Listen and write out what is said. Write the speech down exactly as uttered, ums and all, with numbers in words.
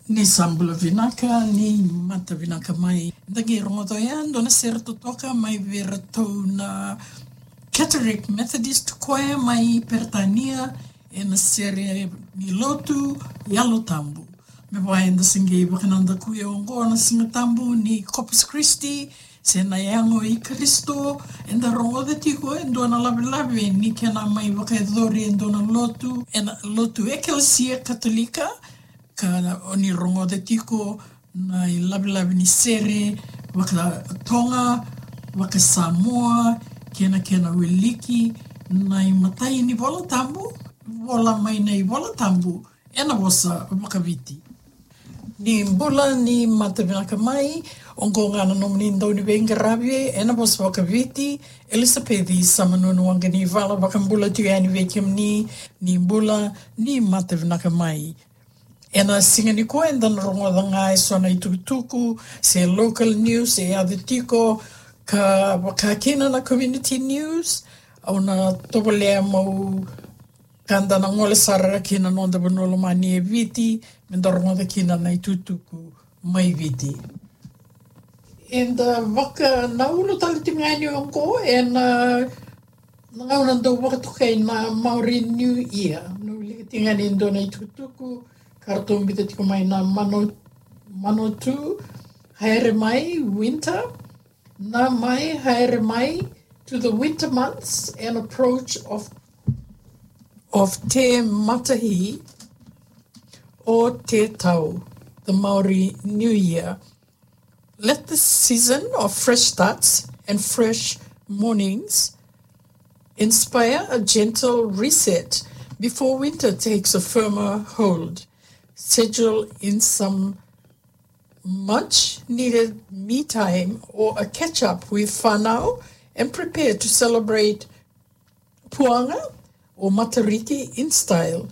Ni sa bula vinaka, ni mata vinaka mai. Da qai rogoca oya e dua na sere totoka mai vei iratou na Catholic Methodist Choir mai Peritania, ena sere ni lotu Yalo Tabu. Me vaka eda se qai vakanadakuya oqo na Siga Tabu ni Corpus Christi, se na Yago i Karisito, eda rogoca tiko e dua na lavelave ni kena mai vakayacori e dua na lotu, ena lotu Ekelesia Katolika, ka o ni rogoca tiko na ilavelave ni sere vakaToga, vakaSamoa, kei na kena wiliki na imatai ni iVola Tabu, vola mai na iVola Tabu ena vosa vakaViti. Ni bula, ni mata vinaka mai. Oqo ga na nomuni dauniveiqaravi ena vosa vakaViti, Elisapeci Samanunu Waqanivala, vakabula tiko yani vei kemuni. Ni bula, ni mata vinaka mai. Ena siga nikua eda na rogoca ga eso na itukutuku se local news e yaco tiko, ka vaka kina na community news. Au na tovolea meu ka da na gole sara ki na noda vanua lomani e Viti, me da rogoca kina na itukutuku mai Viti. Eda vakanaulu tale tiko ga yani oqo ena, na gauna dau vakatokai na Maori New Year. Na wilika tiko ga ni dua na itukutuku ka ratou biuta tiko mai na Mano, Manawatū, Haere Mai, winter, Na Mai, Haere Mai, to the winter months and approach of, of Te Matahi or Te Tau, the Maori New Year. Let the season of fresh starts and fresh mornings inspire a gentle reset before winter takes a firmer hold. Schedule in some much needed me time or a catch up with whanau and prepare to celebrate Puanga or Matariki in style.